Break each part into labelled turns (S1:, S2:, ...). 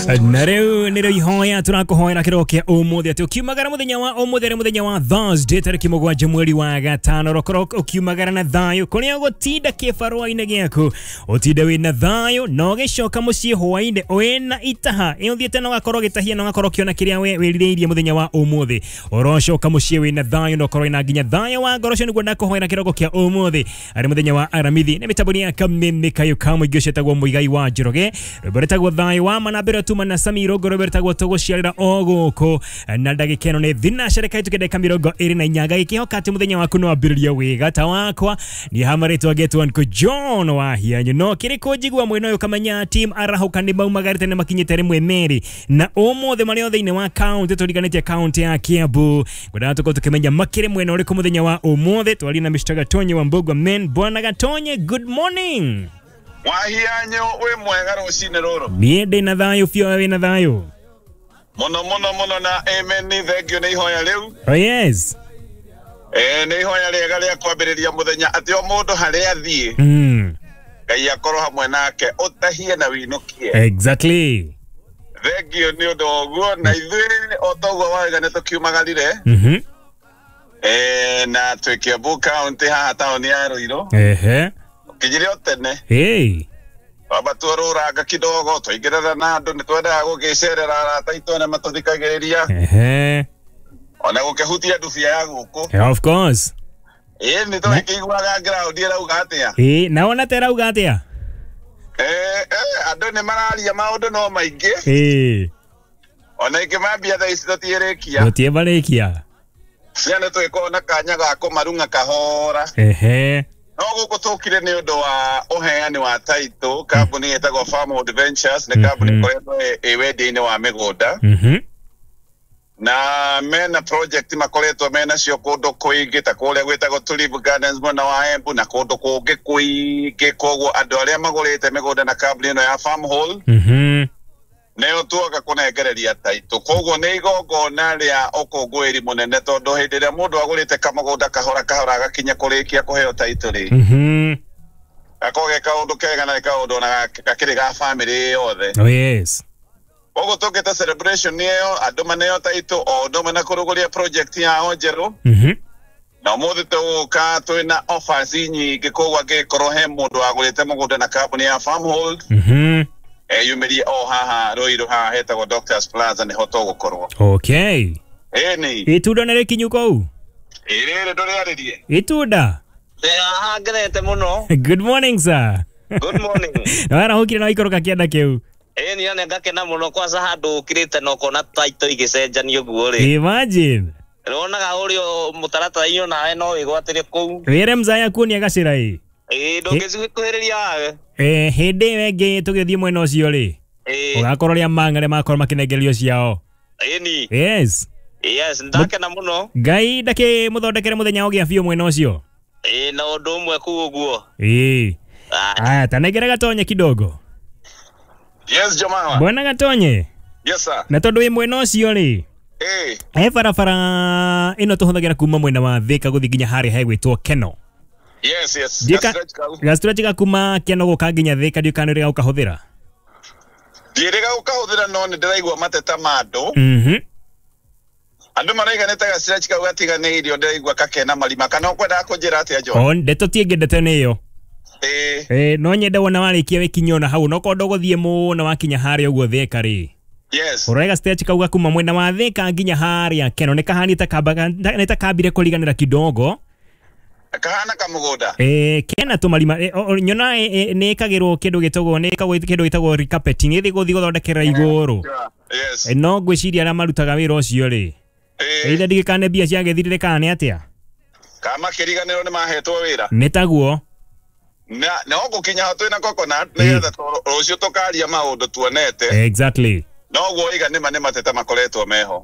S1: Na rĩu nĩrĩo ihoya tũrakũhoera kĩroko kĩa ũmũthĩ atĩ ũkiumagara mũthenya wa ũmũthĩ arĩ mũthenya wa Thursday tarĩki 7 mweri wa 5 ũrokorwo ũkiumagara na thayũ kũrĩa ũgũtinda kĩbarũa-inĩ gĩaku ũtinde wĩna thayũ na ũgĩcoka mũciĩ hwaĩ-inĩ wĩna itaha ĩ ũthiĩte na ũgakorwo ũgĩtahia na ũgakorwo ũkĩona kĩrĩa we wĩrirĩirie mũthenya wa ũmũthĩ ũrocoka mũciĩ wĩna thayũ na ũkorwo wĩna nginya thayũ wa ngoro. Ũcio nĩguo ndakũhoera kĩroko kĩa ũmũthĩ arĩ mũthenya wa Aramithi nĩ mĩtambo ya Kameme Kayo ka mũingĩ ũcio etagwo Mũigai wa Njoroge rwĩmbo rwĩtagwo thayũ wa ma na mbere tuma na Sami Rũngũ rwĩmbo rwĩtagwo tũgũciarĩra o gũkũ na ndagĩka ĩno nĩ thinacara kahĩtũke ndagĩka 28 ngagĩkĩhoka atĩ mũthenya waku no wambĩrĩria wĩga ta wakwa niĩ hama rĩtwa ngetwo Uncle John wa Hianyu no kĩrĩkũ njigua mwena ũyũ ũkamenya team arahũka nĩ maumagarĩte na makinyĩte rĩmwe merĩ na ũmũthĩ marĩ o thĩinĩ wa kaunti tũriganĩtie kaunti ya Kiambu ngwendaga tũkorwo tũkĩmenya makĩrĩ mwena ũrĩkũ mũthenya wa ũmũthĩ twarie na Mr. Gatonye wa Mbugua Men. Bwana Gatonye, good morning.
S2: Wahianyo wĩ mwega rũcinĩ rũrũ.
S1: Niĩ ndĩ na thayũ biũ, we wĩna thayũ?
S2: Mũno mũno mũno na amen nĩ thengio nĩ ihoya rĩu.
S1: Oh yes.
S2: Nĩ ihoya rĩega rĩa kwambĩrĩria mũthenya atĩ o mũndũ harĩa athiĩ Ngai akorwo hamwe nake ũtahie na wĩinũkie.
S1: Exactly.
S2: Thengio nĩ ũndũ wa ũguo na ithuĩ o toguo wauga nĩ tũkiumagarire. Na twĩ Kiambu County haha taũni ya Ruiru.
S1: Ehe.
S2: Kinyire o tene.
S1: Hey.
S2: Twamba tuorũranga kidogo twaingĩrana na andũ nĩ twendaga gũgĩcerera arata aitũ arĩa matũthikagĩrĩria.
S1: Ehe.
S2: Ona gũkĩhutia ndubia ya gũkũ.
S1: Of course.
S2: Ĩĩ nĩ tũgĩkĩiguaga ground ĩrauga atĩa.
S1: Ĩĩ na wona ta ĩrauga atĩa?
S2: Andũ nĩ mararia maũndũ no maingĩ.
S1: Ĩĩ.
S2: Ona ingĩ mambia thaa ici tũtiĩrĩkia.
S1: Tũtiĩbarĩkia.
S2: Cia nĩ tũgĩkorwo na kanya ga kũmarung'a kahora.
S1: Ehe.
S2: No gũkũ tũkire nĩ ũndũ wa ũheani wa title kambuni ĩtagwo Farmwood Ventures nĩ kambuni ĩkoretwo ĩ wendia-inĩ wa mĩgũnda. Na mena project makoretwo menacio kũndũ kũingĩ ta kũrĩa gwĩtagwo Tulip Gardens mwena wa Embu na kũndũ kũngĩ kũingĩ koguo andũ arĩa magũrĩte mĩgũnda na kambuni ĩno ya Farmhold nĩo tuoka kũnengereria title koguo nĩ igongona rĩa ũkũngũĩri mũnene tondũ hĩndĩ ĩrĩa mũndũ agũrĩte kamũgũnda kahora kahora agakinya kũrĩkia kũheo title rĩ gakorwo ge kaũndũ kega na kaũndũ ona gakĩrĩ ga family yothe.
S1: Oh yes.
S2: Koguo tũkĩte celebration ĩyo andũ maneo title o ũndũ ũmwe na kũrugũria project yao njerũ. Na ũmũthĩ tũgũka twĩna offers nyingĩ koguo angĩkorwo he mũndũ wagũrĩte mũgũnda na kambuni ya Farmhold eyumĩrie o haha Ruiru haha hetagwo Doctors Plaza nĩho tũgũkorwo.
S1: Okay.
S2: Ĩni.
S1: Itunda nĩ rĩkinyu kũu?
S2: Ĩ rĩrĩ ndũrĩarĩrie.
S1: Itunda.
S3: Ndĩ haha ngenete mũno.
S1: Good morning sir.
S3: Good morning.
S1: Na warahũkire na waikũrũka kĩanda kĩu.
S3: Ĩĩ niĩ nĩ ngakena mũno kwanza handũ ũkirĩte na ũkona title igĩcenjanio ũguo rĩ.
S1: Imagine.
S3: Ũronaga ũrĩa mũtaratara-inĩ onawe no wĩgwatĩre kũu.
S1: Wĩre mzaya kuonia gacĩra ĩ.
S3: Ĩĩ ndũngĩcikuhĩrĩria wawe.
S1: Hĩndĩ ĩyo ĩngĩ tũgĩthiĩ mwena ũcio rĩ. Ũgakorwo rĩa mang'are makorwo makĩnengererio ciao.
S3: Ĩni.
S1: Yes.
S3: Yes, ndakena mũno.
S1: Ngai ndakĩmũthondekere mũthenya ũgĩa biũ mwena ũcio.
S3: Ĩĩ na ũndũ ũmwe kũu ũguo.
S1: Ĩĩ. Aya tanengere Gatonye kidogo.
S2: Yes, Jomama.
S1: Bwana Gatonye.
S2: Yes sir.
S1: Na tondũ wĩ mwena ũcio rĩ. He barabara ĩno tũhũthagĩra kuma mwena wa Thika gũthiĩ nginya harĩa hegwĩtwo Keno.
S2: Yes, yes.
S1: Gastretch ka kuma Keno gũka nginya Thika ndiũ kana nĩũrĩga gũkahũthĩra.
S2: Ndiĩrĩga gũkahũthĩra no nĩ ndĩraigua mateta ma andũ. Andũ maraiga nĩ ta gastretch kau gatiganĩirio ndĩraigua kakena marima kana ũkwendaga kũnjĩra atĩa John?
S1: O ndeto ti ĩngĩ ndeto nĩ ĩyo. No nyende wona warĩkia wĩkinyie ona hau no korwo ndũgũthiĩ mũno wakinya harĩa ũguo Thika rĩ.
S2: Yes.
S1: Ũrore gastretch kau gakuma mwena wa Thika nginya harĩa Keno nĩ kahana nĩ ta kambire kũriganĩra kidogo.
S2: Kahana kamũgũnda.
S1: Kena tũmarima nyona nĩ ĩkagĩrwo kĩndũ gĩtagwo nĩ ĩkagwo kĩndũ gĩtagwo recarpeting ĩthiĩ gũthiĩ gũthondekera igũrũ.
S2: Yes.
S1: No ngwĩciria arĩa marutaga wĩra ũcio rĩ. Either ndigĩkane mbia ciagĩthirire kana nĩ atĩa?
S2: Kama kĩriganĩro nĩ mahetwo wĩra.
S1: Nĩ taguo.
S2: Na no gũkinya ho twĩna coconut nĩgetha rũciũ tũkaria maũndũ tuonete.
S1: Exactly.
S2: No guo iga nĩ mateta makoretwo meho.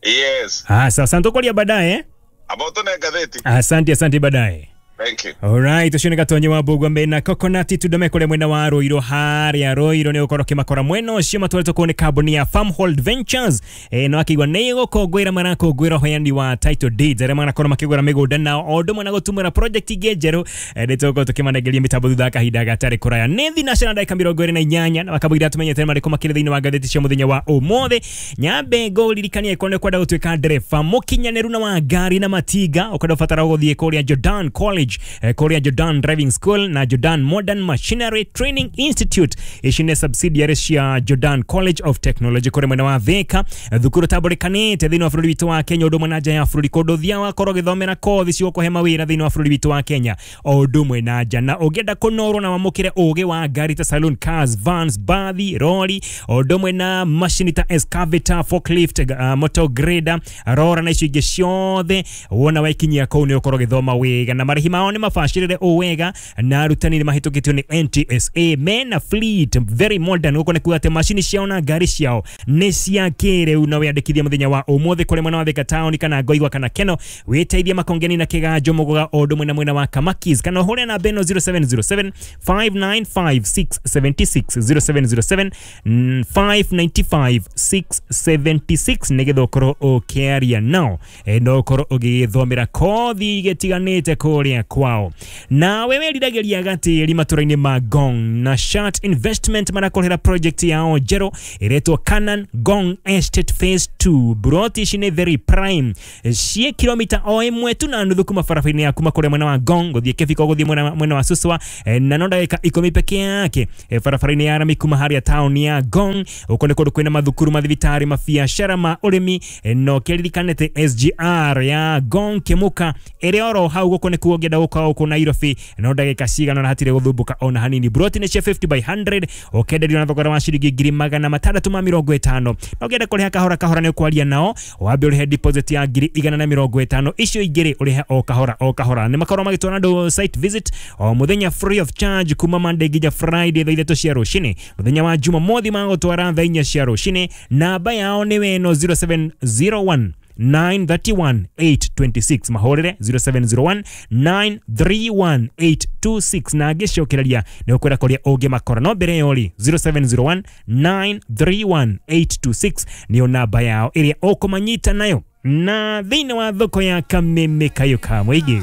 S2: Yes.
S1: Sasa tũkũria baadaye.
S2: Abo tũne ngathĩti.
S1: Asante, asante baadaye.
S2: Thank you.
S1: Alright, ucio nĩ Gatonyi wa Mbũgua mena Coconut itunda mekũrĩa mwena wa Ruiru harĩa Ruiru nĩ ũkorwo ũkĩmakora mwena ũcio matwarĩtwo kũu nĩ kambuni ya Farmhold Ventures. No akĩigua nĩ gũkũngũĩra marakũngũĩra ũheani wa title deeds arĩa marakorwo makĩgũra mĩgũnda nao o ũndũ ũmwe na gũtumũra project ingĩ njerũ. Nĩ tũgũkorwo tũkĩmanengeria mĩtambo thutha wa kahinda gatarĩ kũraya. Nĩ thinacara ndagĩka 28 na makamũira tũmenyete marĩkũ makĩrĩ thĩinĩ wa ngathĩti cia mũthenya wa ũmũthĩ. Nyambe ngũririkanie angĩkorwo nĩ ũkwenda gũtuĩka ndereba mũkinyanĩru na wa ngari na matinga, ũkwenda ũbatara gũthiĩ kũrĩa Jordan College, kũrĩa Jordan Driving School na Jordan Modern Machinery Training Institute. Ici nĩ subsidiary cia Jordan College of Technology kũrĩa mwena wa Thika, thukuru tambũrĩkanĩte thĩinĩ wa bũrũri witũ wa Kenya ũndũ ũmwe na nja ya bũrũri, kũndũ ũthiaga wakorwo ũgĩthomera kothi cigũkũhe mawĩra thĩinĩ wa bũrũri witũ wa Kenya o ũndũ ũmwe na nja. Na ũngĩenda kũnorwo na wamũkĩre ũgĩ wa ngari ta saloon cars, vans, bathi, rori o ũndũ ũmwe na macini ta excavator, forklift, motor grader, rora na icio ingĩ ciothe, wona waikinyia kũu nĩ ũkorwo ũgĩthoma wega na marĩhi mao nĩ mabacĩrĩre o wega na arutani nĩ mahĩtũkĩtio nĩ NTSA. Mena fleet very modern, gũkũ nĩ kuga atĩ macini ciao na ngari ciao nĩ cia kĩrĩu. Na wĩandĩkithie mũthenya wa ũmũthĩ kũrĩ mwena wa Thika town kana Ngoigwa kana Keno, wĩteithie Makongeni na Kĩganjo Mũgũga o ũndũ ũmwe na mwena wa Kamakis, kana ũhũre namba ĩno 0707 595 676 0707 595 676 nĩgetha ũkorwo ũkĩaria nao, no ũkorwo ũgĩthomera kothi igĩtiganĩte kũrĩa kwao. Nawe weriragĩria gatĩri matũra-inĩ ma Ngong na Shat Investment marakorera project yao njerũ ĩretwo Canaan Ngong Estate Phase 2. Buroti ici nĩ very prime, ciĩ kilomita o ĩmwe tu na nuthu kuma barabara-inĩ ya kuma kũrĩa mwena wa Ngong gũthiĩ Kĩbiko gũthiĩ mwena wa Suswa, na no ndagĩka 10 peke yake barabara-inĩ ya rami kuma harĩa town ya Ngong. Ũko nĩ kũndũ kwĩna mathukuru, mathibitarĩ, mabiacara ma ũrĩmi, no kĩririkanĩte SGR ya Ngong Kĩmũka ĩrĩ oro hau. Gũkũ nĩkuo ũngĩenda gũka gũkũ Nairobi no ndagĩka cigana na hatirĩ gũthumbũka ona hanini. Buroti nĩ cia 50 by 100 ũkenderio na thogora wa ciringi 650,000. Na ũngĩenda kũrĩha kahora kahora nĩ ũkwaria nao, wambe ũrĩhe deposit ya 150,000, icio ingĩ ũrĩhe o kahora o kahora. Nĩ makorwo magĩtwara andũ site visit o mũthenya free of charge kuma Monday nginya Friday thaa 3 cia rũcinĩ, mũthenya wa Jumamothi magũtwara thaa 4 cia rũcinĩ. Namba yao nĩ weno 0701 931 826, mahũrĩre 0701 931 826 na ngĩcokereria nĩ ũkwĩra kũrĩa ũngĩmakora. No mbere ĩyo rĩ, 0701 931 826 nĩyo namba yao ĩrĩa ũkũmanyita nayo. Na thĩinĩ wa thoko ya Kameme Kayũ ka mũingĩ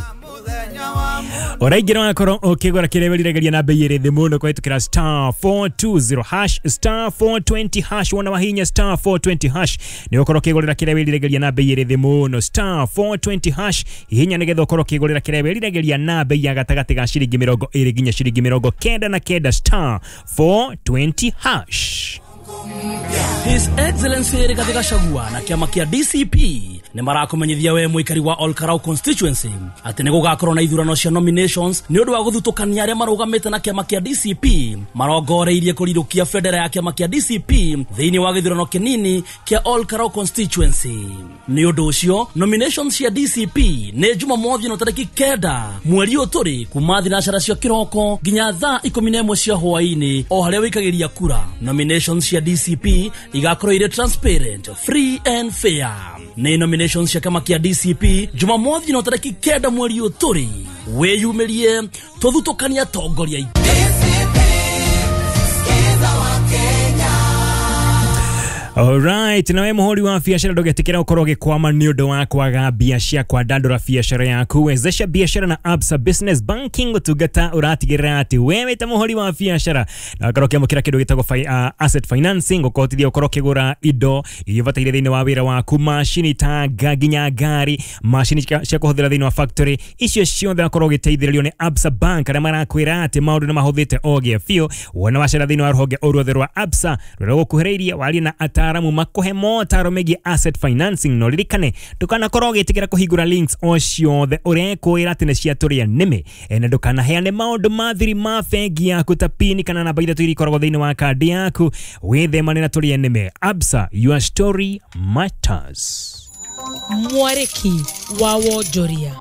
S1: ũraingĩra wakorwo ũkĩgũra kĩrĩa wĩriragĩria na bei ĩrĩ thĩ mũno kũhĩtũkĩra star 420 hash, star 420 hash. Wona wahinya star 420 hash nĩ ũkorwo ũkĩgũrĩra kĩrĩa wĩriragĩria na bei ĩrĩ thĩ mũno. Star 420 hash, hihinya nĩgetha ũkorwo ũkĩgũrĩra kĩrĩa wĩriragĩria na bei ya gatagatĩ ga ciringi 20 nginya ciringi 99, star 420 hash.
S4: His Excellency Rigathi Gachagua na kĩama kĩa DCP nĩ marakumenyithia we mũikari wa Olkarau constituency atĩ nĩ gũgakorwo na ithurano cia nominations nĩ ũndũ wa gũthutũkania arĩa marũgamĩte na kĩama kĩa DCP marongoreirie kũrirũkia bendera ya kĩama kĩa DCP thĩinĩ wa gĩthurano kĩnini kĩa Olkarau constituency. Nĩ ũndũ ũcio nominations cia DCP nĩ Jumamothi no tarĩki 9 mweri ũyũ tũrĩ kuma thinacara cia kĩroko nginya thaa 11 cia hwaĩ-inĩ o harĩa wĩikagĩria kura. Nominations cia DCP igakorwo irĩ transparent, free and fair. Nĩ nominations cia kĩama kĩa DCP Jumamothi no tarĩki 9 mweri ũyũ tũrĩ. Wĩyumĩrie tũthutũkanie atongoria aitũ.
S1: Alright, nawe muhuri wa biashara ndũgetikĩra ũkorwo ũgĩkwama nĩ ũndũ wa kwaga mbia cia kwandandũra biashara yaku. Wezesha biashara na Absa Business Banking, ũtungata ũratigĩrĩra atĩ wewe ta mũhũri wa biashara na ũkorwo ũkĩamũkĩra kĩndũ gĩtagwo asset financing, ũkũhotithia ũkorwo ũkĩgũra indo iria ũbataire thĩinĩ wa wĩra waku, macini ta nginya ngari, macini cia kũhũthĩra thĩinĩ wa factory, icio ciothe ũkorwo ũgĩteithĩrĩrio nĩ Absa Bank arĩa marakwĩra atĩ maũndũ nĩ mahũthĩte o gĩa biũ. Wona wacera thĩinĩ wa rũhonge o ruothe rwa Absa rũrĩa rũgũkuhĩrĩirie, warie na ataaramu makuhe motaro megiĩ asset financing. No ririkane ndũkanakorwo ũgĩtĩkĩra kũhingũra links o ciothe ũrekwĩra atĩ nĩ cia tũrĩa nĩmĩ, na ndũkanaheane maũndũ ma thiri ma bengi yaku ta pini kana namba ithatũ iria ikoragwo thĩinĩ wa kandi yaku. Wĩthemane na tũrĩa nĩmĩ. Absa, your story matters.
S5: Mwarĩki wa wonjoria.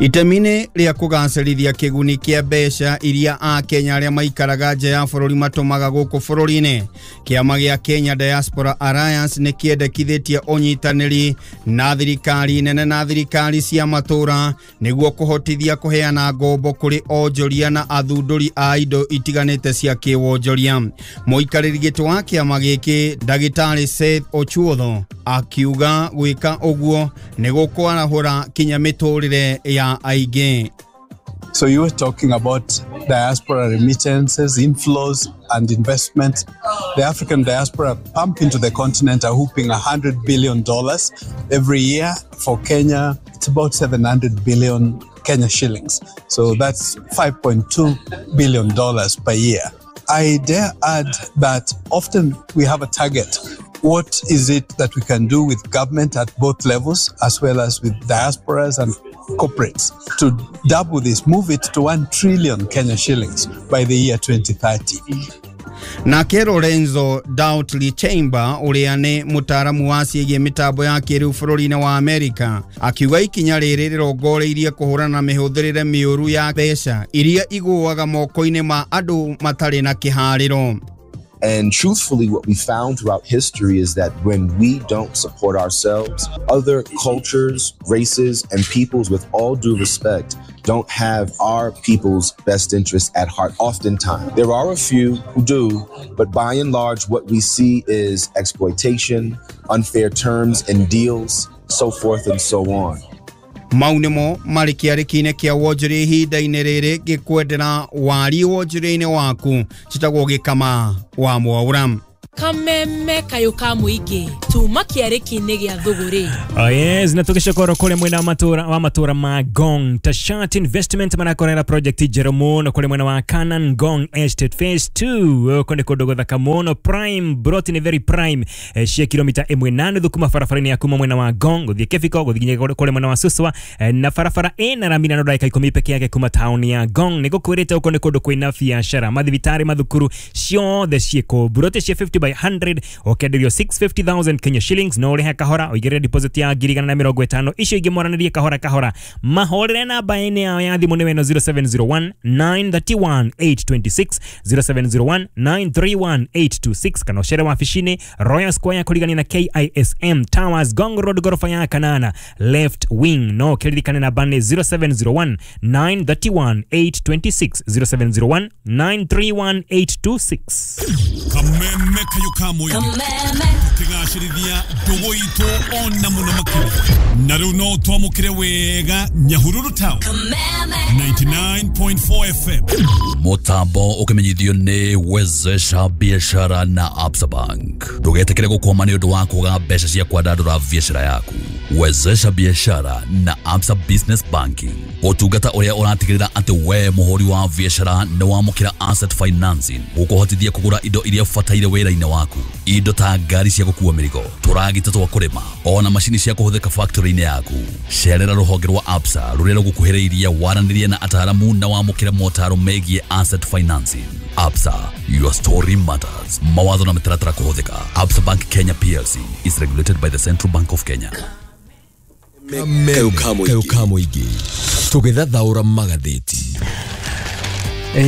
S5: Itemi-inĩ rĩa kũgacĩrithia kĩguni kĩa mbeca iria Akenya arĩa maikaraga nja ya bũrũri matũmaga gũkũ bũrũri-inĩ, kĩama gĩa Kenya Diaspora Alliance nĩ kĩendekithĩtie ũnyitanĩri na thirikari nene na thirikari cia matũũra nĩguo kũhotithia kũheana ngombo kũrĩ onjoria na athundũri a indo itiganĩte cia kĩwonjoria. Mũikarĩri gĩtĩ wa kĩama gĩkĩ Ndagĩtarĩ Seth Ochuodho akiuga gwĩka ũguo nĩ gũkwarahũra kinya mĩtũrĩre ya aingĩ.
S6: So you were talking about diaspora remittances, inflows and investments. The African diaspora pump into the continent are whooping $100 billion every year. For Kenya, it's about 700 billion Kenya shillings. So that's $5.2 billion per year. I dare add that often we have a target. What is it that we can do with government at both levels, as well as with diasporas and corporates, to double this, move it to 1 trillion Kenya shillings by the year 2030?
S5: Nake Lorenzo Doutley Chamber ũrĩa nĩ mũtaaramu wa ciĩgiĩ mĩtambo ya kĩrĩu bũrũri-inĩ wa Amerika akiuga ikinya rĩrĩ rĩrongoreirie kũhũrana na mĩhũthĩrĩre mĩũru ya mbeca iria igũaga moko-inĩ ma andũ matarĩ na kĩharĩro.
S7: And truthfully, what we found throughout history is that when we don't support ourselves, other cultures, races, and peoples, with all due respect, don't have our people's best interests at heart oftentimes. There are a few who do, but by and large, what we see is exploitation, unfair terms and deals, so forth and so on.
S5: Mau nĩmo marĩ kĩarĩki-inĩ kĩa wonjoria ihinda-inĩ rĩrĩ ngĩkwendera wari wonjoria-inĩ waku citagwo Gĩkama wa Mwaura.
S8: Kameme kayo ka mũingĩ tuma kĩarĩki-inĩ gĩa thũgũrĩ.
S1: Oh yes, na tũgĩcokora kũrĩa mwena wa matũra ma Ngong Tashat Investment marakorera project njerũ mũno kũrĩa mwena wa Canaan Ngong Estate Phase 2. Gũkũ nĩ kũndũ gũthaka mũno, prime broti nĩ very prime, cia kilomita 1.5 kuma barabara-inĩ ya kuma mwena wa Ngong gũthiĩ Kĩbiko gũthiĩ nginya kũrĩa mwena wa Suswa, na barabara ĩna rami na ndagĩka 10 peke yake kuma taũni ya Ngong. Nĩ gũkwĩrĩte gũkũ nĩ kũndũ kwĩna biacara, mathibitarĩ, mathukuru ciothe ciĩkũ. Broti cia 50 by 100 ũkenderio 650,000 Kenya shillings, no ũrĩhe kahora ũigĩrĩre deposit ya 150,000 icio ingĩ mwaranĩrie kahora kahora. Mahũrĩre namba-inĩ yao ya thimũ nĩ ĩno 0701 931 826, 0701 931 826, kana ũcere wabici-inĩ Royal Square kũrigania na KISM Towers, Ngong Road, gorofa ya kanana left wing. No kĩririkane namba nĩ 0701 931 826, 0701 931 826.
S9: Kameme kayo ka mũingĩ tũkĩgacĩrithia ndũgũ itũ ona mũno makĩria na rĩu no twamũkĩre wega Nyahururu Town 99.4 FM.
S10: Mũtambo ũkĩmenyithio nĩ Wezesha Biashara na Absa Bank. Ndũgetĩkĩre gũkwama nĩ ũndũ wa kwaga mbeca cia kwandandũra biacara yaku. Wezesha Biashara na Absa Business Banking, ũtungata ũrĩa ũratigĩrĩra atĩ we mũhũri wa biacara nĩ wamũkĩra asset financing gũkũhotithia kũgũra indo iria ũbataire wĩra-inĩ waku, indo ta ngari cia gũkua mĩrigo, tũragita twa kũrĩma, ona macini cia kũhũthĩka factory-inĩ yaku. Cerera rũhonge rwa Absa rũrĩa rũgũkuhĩrĩirie waranĩrie na ataaramu na wamũkĩre motaro megiĩ asset financing. Absa, your story matters. Mawatho na mĩtaratara kũhũthĩka. Absa Bank Kenya PLC is regulated by the Central Bank of Kenya.
S11: Kayo ka mũingĩ tũgĩthathaũra magathĩti.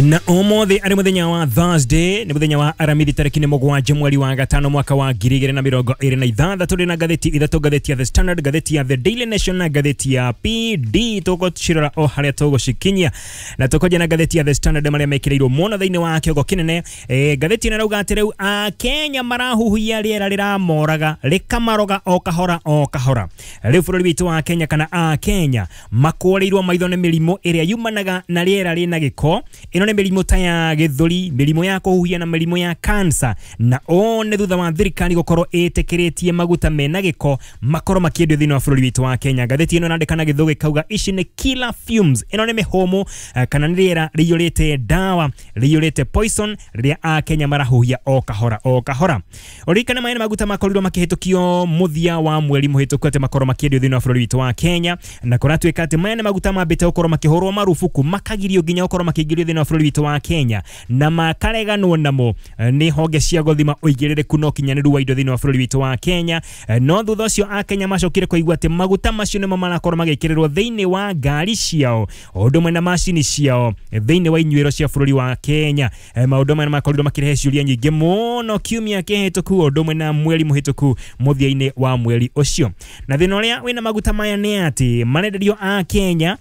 S1: Na ũmũthĩ arĩ mũthenya wa Thursday, nĩ mũthenya wa Aramithi tarĩki nĩ 7 mweri wa 5 mwaka wa 2026. Tũrĩ na ngathĩti ithatũ, ngathĩti ya The Standard, ngathĩti ya The Daily Nation na ngathĩti ya PD. Tũgũcirora o harĩa tũgũcikinyia, na tũkwanjia na ngathĩti ya The Standard marĩa mekĩrĩirwo mũno thĩinĩ wa kĩongo kĩnene. Ngathĩti ĩno ĩrauga atĩ rĩu Akenya marahuhia rĩera rĩramoraga rĩkamaroga o kahora o kahora. Rĩu bũrũri witũ wa Kenya kana Akenya makũrĩirwo maitho nĩ mĩrimũ ĩrĩa yumanaga na rĩera rĩna gĩko. Ĩno nĩ mĩrimũ ta ya gĩthũri, mĩrimũ ya kũhuhia na mĩrimũ ya kansa, na o nĩ thutha wa thirikari gũkorwo ĩtĩkĩrĩtie maguta mena gĩko makorwo makĩendio thĩinĩ wa bũrũri witũ wa Kenya. Ngathĩti ĩno ĩrandĩka na gĩthũngũ ĩkauga ici nĩ killer fumes. Ĩno nĩ mĩhũmũ kana nĩ rĩera rĩiyũrĩte ndawa, rĩiyũrĩte poison rĩrĩa Akenya marahuhia o kahora o kahora. Ũririkane maya nĩ maguta makorirwo makĩhĩtũkio mũthia wa mweri mũhĩtũku atĩ makorwo makĩendio thĩinĩ wa bũrũri witũ wa Kenya, na kũratuĩka atĩ maya nĩ maguta mambĩte gũkorwo makĩhũrwo marubuku makagirio nginya gũkorwo makĩingĩrio thĩinĩ wa wa bũrũri witũ wa Kenya na makareganwo namo nĩ honge cia gũthima ũigĩrĩrĩku na ũkinyanĩru wa indo thĩinĩ wa bũrũri witũ wa Kenya. No thutha ũcio akenya macokire kũigua atĩ maguta macio nĩmo marakorwo magĩkĩrĩrwo thĩinĩ wa ngari ciao o ũndũ ũmwe na macini ciao thĩinĩ wa inyuĩro cia bũrũri wa Kenya. Maũndũ maya makorirwo makĩrehe ciũria nyingĩ mũno kiumia kĩhĩtũku o ũndũ ũmwe na mweri mũhĩtũku mũthia-inĩ wa mweri ũcio. Na thĩna ũrĩa wĩna maguta maya nĩ atĩ marenderio a Kenya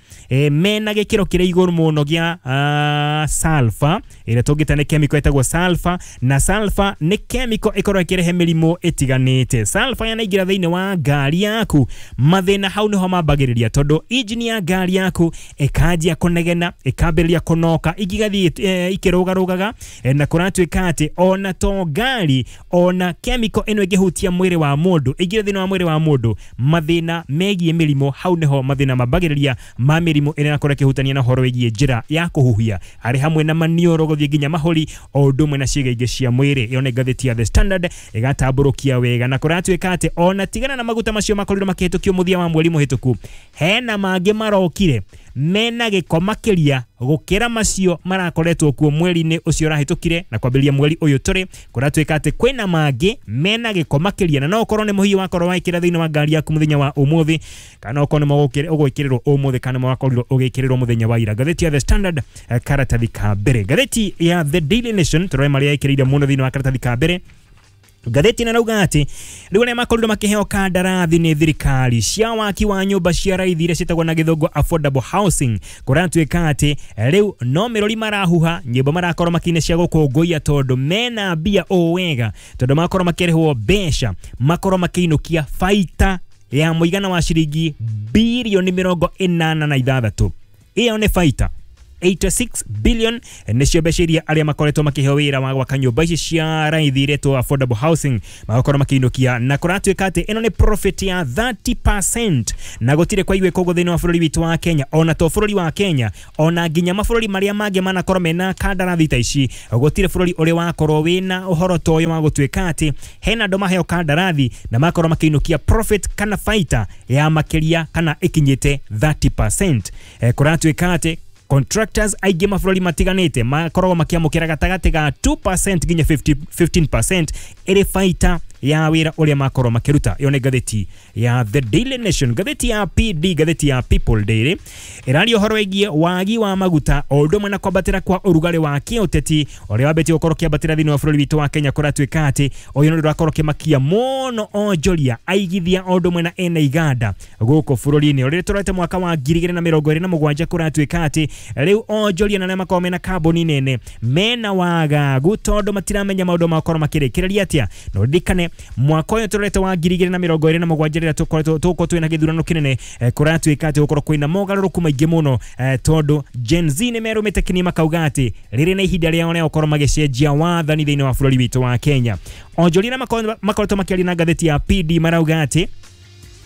S1: mena gĩkĩro kĩrĩa igũrũ mũno gĩa sulfur ĩrĩa tũngĩta nĩ chemical ĩtagwo sulfur, na sulfur nĩ chemical ĩkoragwo ĩkĩrehe mĩrimũ ĩtiganĩte. Sulfur yanaingĩra thĩinĩ wa ngari yaku mathĩna hau nĩho mambagĩrĩria tondũ injini ya ngari yaku ĩkanjia kũnegena ĩkambĩrĩria kũnoka igathiĩ ikĩrũgarũgaga na kũratuĩka atĩ ona to ngari ona chemical ĩno ĩngĩhutia mwĩrĩ wa mũndũ ĩingĩre thĩinĩ wa mwĩrĩ wa mũndũ mathĩna megiĩ mĩrimũ hau nĩho mathĩna mambagĩrĩria ma mĩrimũ ĩrĩa ĩrakorwo ĩkĩhutania na ũhoro wĩgiĩ njĩra ya kũhuhia arĩ hamwe na maniũrũ gũthiĩ nginya mahũri o ũndũ ũmwe na ciĩga ingĩ cia mwĩrĩ. Ĩyo nĩ ngathĩti ya The Standard ĩgatambũrũkia wega na kũratuĩka atĩ ona tigana na maguta macio makorirwo makĩhĩtũkio mũthia wa mweri mũhĩtũku hena mangĩ marokire mena gĩko makĩria gũkĩra macio marakoretwo kuo mweri-inĩ ũcio ũrahĩtũkire na kwambĩrĩria mweri ũyũ tũrĩ. Kũratuĩka atĩ kwĩna mangĩ mena gĩko makĩria na no ũkorwo nĩ mũhiũ wakorwo waikĩra thĩinĩ wa ngari yaku mũthenya wa ũmũthĩ kana ũkorwo nĩ ũgwĩkĩrĩrwo ũmũthĩ kana wakorirwo ũgĩkĩrĩrwo mũthenya wa ira. Ngathĩti ya The Standard karatathi ka mbere. Ngathĩti ya The Daily Nation tũrore marĩa ĩkĩrĩire mũno thĩinĩ wa karatathi ka mbere. Ngathĩti ĩno ĩrauga atĩ rĩu arĩa makorirwo makĩheo kandarathi nĩ thirikari cia waki wa nyũmba cia raithi iria ciĩtagwo na gĩthũngũ affordable housing kũratuĩka atĩ rĩu no mĩrũri marahuha nyĩmbo marakorwo makĩina cia gũkũngũiya tondũ mena mbia ũũ wega tondũ makorwo makĩrĩhwo mbeca makorwo makĩinũkia baita ya mũigana wa ciringi birioni 86. Ĩyo nĩ baita 86 billion nĩcio mbeca iria arĩa makoretwo makĩheo wĩra wa gwaka nyũmba ici cia raithi iretwo affordable housing magakorwo makĩinũkia na kũratuĩka atĩ ĩno nĩ profit ya 30% na gũtirĩ kwaiguĩka ũguo thĩinĩ wa bũrũri witũ wa Kenya ona to bũrũri wa Kenya ona nginya mabũrũri marĩa mangĩ manakorwo mena kandarathi ta ici gũtirĩ bũrũri ũrĩ wakorwo wĩna ũhoro ta ũyũ wa gũtuĩka atĩ hena andũ maheo kandarathi na makorwo makĩinũkia profit kana baita ya makĩria kana ĩkinyĩte 30%. Kũratuĩka atĩ contractors aingĩ mabũrũri matiganĩte makoragwo makĩamũkĩra gatagatĩ ga 2% nginya 15% ĩrĩ baita ya wĩra ũrĩa makorwo makĩruta. Ĩyo nĩ ngathĩti ya The Daily Nation. Ngathĩti ya PD, ngathĩti ya People Daily ĩraria ũhoro wĩgiĩ wagi wa maguta o ũndũ ũmwe na kwambatĩra kwa ũrugarĩ wa kĩũteti ũrĩa wambĩtie gũkorwo ũkĩambatĩra thĩinĩ wa bũrũri witũ wa Kenya. Kũratuĩka atĩ ũyũ nĩ ũndũ ũrakorwo ũkĩmakia mũno onjoria aigithia o ũndũ ũmwe na ene iganda gũkũ bũrũri-inĩ. Ũrĩa tũrorete mwaka wa 2027 kũratuĩka atĩ rĩu onjoria na arĩa makoragwo mena kambuni nene mena wagagu tondũ matiramenya maũndũ makorwo makĩrĩkĩrĩria atĩa. Na ũririkane mwaka ũyũ tũrorete wa 2027 rĩrĩa tũkoretwo tũgũkorwo twĩna gĩthurano kĩnene kũratuĩka atĩ gũkorwo kwĩna mogarũrũku maingĩ mũno tondũ Gen Z nĩ merũmĩte kĩni makauga atĩ rĩrĩ na ihinda rĩao rĩa gũkorwo magĩcenjia wathani thĩinĩ wa bũrũri witũ wa Kenya. Onjoria arĩa makoretwo makĩaria na ngathĩti ya PD marauga atĩ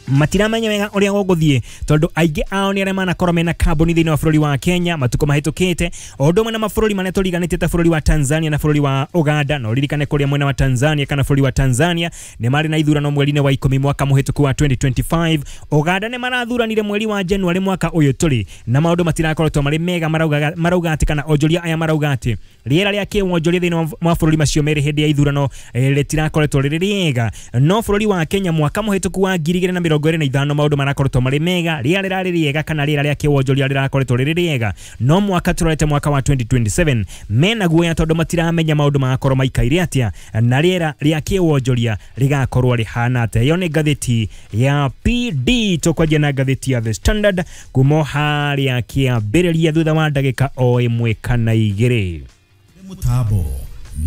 S1: matiramenya wega ũrĩa gũgũthiĩ tondũ aingĩ ao nĩ arĩa manakorwo mena kambuni thĩinĩ wa bũrũri wa Kenya matukũ mahĩtũkĩte o ũndũ ũmwe na mabũrũri marĩa tũriganĩtie ta bũrũri wa Tanzania na bũrũri wa Uganda. Na ũririkane kũrĩa mwena wa Tanzania kana bũrũri wa Tanzania nĩ marĩ na ithurano mweri-inĩ wa 10 mwaka mũhĩtũku wa 2025. Uganda nĩ marathuranire mweri wa January mwaka ũyũ tũrĩ na maũndũ matirakoretwo marĩ mega marauga atĩ kana onjoria aya marauga atĩ rĩera rĩa kĩwonjoria thĩinĩ wa mabũrũri macio merĩ hĩndĩ ya ithurano rĩtirakoretwo rĩrĩ rĩega. No bũrũri wa Kenya mwaka mũhĩtũku wa 2025 maũndũ marakoretwo marĩ mega, rĩera rĩrarĩ rĩega kana rĩera rĩa kĩwonjoria rĩrakoretwo rĩrĩ rĩega. No mwaka tũrorete mwaka wa 2027 mena guoya tondũ matiramenya maũndũ magakorwo maikaire atĩa na rĩera rĩa kĩwonjoria rĩgakorwo rĩhana atĩa. Ĩyo nĩ ngathĩti ya PD. Tũkwanjia na ngathĩti ya The Standard kuma harĩa kĩambĩrĩria thutha wa ndagĩka o ĩmwe kana igĩrĩ.
S12: Mũtambo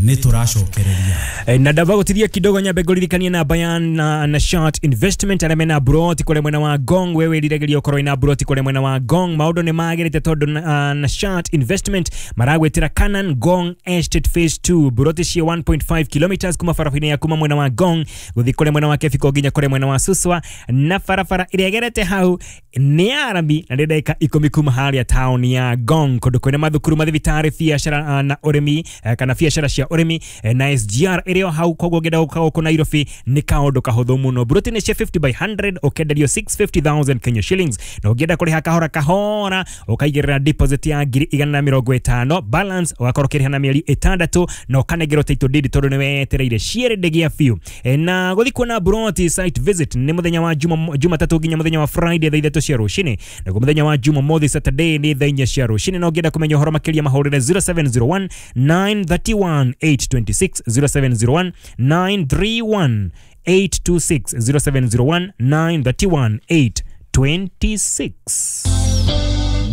S12: nĩ tũracokereria
S1: na ndamba gũtithia kidogo nyambe ngũririkanie namba ya na Short Investment arĩa mena broti kũrĩa mwena wa Ngong. We wĩriragĩria ũkorwo ina broti kũrĩa mwena wa Ngong, maũndũ nĩ magĩrĩte tondũ na Short Investment maragwĩtĩra Canaan Ngong Estate Phase 2 broti cia 1.5 kilometers kuma barabara-inĩ ya kuma mwena wa Ngong gũthiĩ kũrĩa mwena wa Kebiko nginya kũrĩa mwena wa Suswa, na barabara ĩrĩa ĩgerete hau nĩ ya rami na nĩ ndagĩka 10 kuma harĩa taũni ya Ngong kũndũ kwĩna mathukuru, mathibitarĩ, biacara na ũrĩmi kana biacara cia ũrĩmi na SGR ĩrĩ o hau, koguo ũngĩenda gũka gũkũ Nairobi nĩ kaũndũ kahũthũ mũno. Broti nĩ cia 50 by 100 ũkenderio 650,000 Kenya shillings, na ũngĩenda kũrĩha kahora kahora ũkaigĩrĩra deposit ya 150,000, balance ũgakorwo ũkĩrĩha na mĩeri 6 na ũkanengerwo title deed tondũ nĩ wetereire ciĩrĩndĩ biũ. Na gũthiĩ kuona broti site visit nĩ mũthenya wa Jumatatu nginya mũthenya wa Friday thaa 3 cia rũcinĩ, naguo mũthenya wa Jumamothi Saturday nĩ thaa 4 cia rũcinĩ. Na ũngĩenda kũmenya ũhoro makĩria mahũrĩre 0701 931 826, 0701 931 826, 0701 931 826.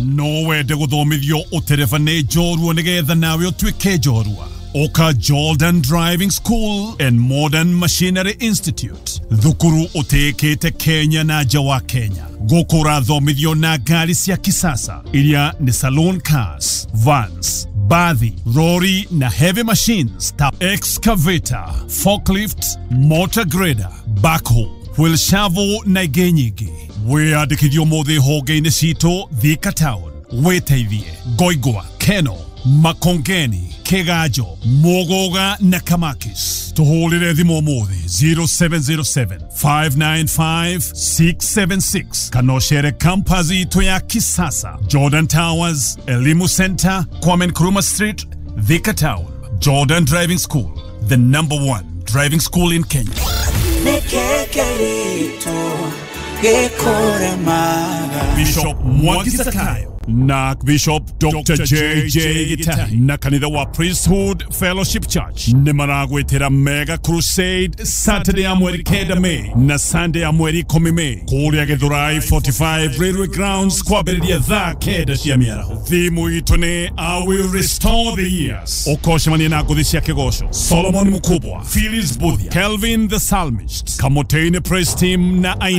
S9: No wende gũthomithio ũtereba nĩ njorua nĩgetha nawe ũtuĩke njorua. Oka Jordan Driving School and Modern Machinery Institute, thukuru ũtĩĩkĩte Kenya na nja wa Kenya. Gũkũ ũrathomithio na ngari cia kisasa iria nĩ saloon cars, vans, bathi, lorry na heavy machines ta excavator, forklift, motor grader, backhoe, wheel shovel na ingĩ nyingĩ. Wĩyandĩkithio ũmũthĩ honge-inĩ citũ Thika Town, wĩteithie Ngoingwa, Keno, Makongeni, Kiganjo, Muguga na Kamakis. Tuhũrĩre thimũ ũmũthĩ 0707 595 676 kana ũcere campus itũ ya kisasa Jordan Towers, Elimu Center, Kwame Nkrumah Street, Thika Town. Jordan Driving School, the number one driving school in Kenya. Bishop Mwangi Zakayo na Bishop Dr. JJ Gitari na kanitha wa Priesthood Fellowship Church nĩ maragwĩtĩra Mega Crusade Saturday ya mweri 9 Mei na Sunday ya mweri 10 Mei kũrĩa Githurai 45 Railway Grounds kwambĩrĩria thaa 9 cia mĩaraho. Thimu itũ nĩ I will restore the years. Ũkocemania na ngũthi cia kĩgoco Solomon Mukubwa, Phyllis Buthia, Kelvin the Psalmist, Kamotene Praise Team na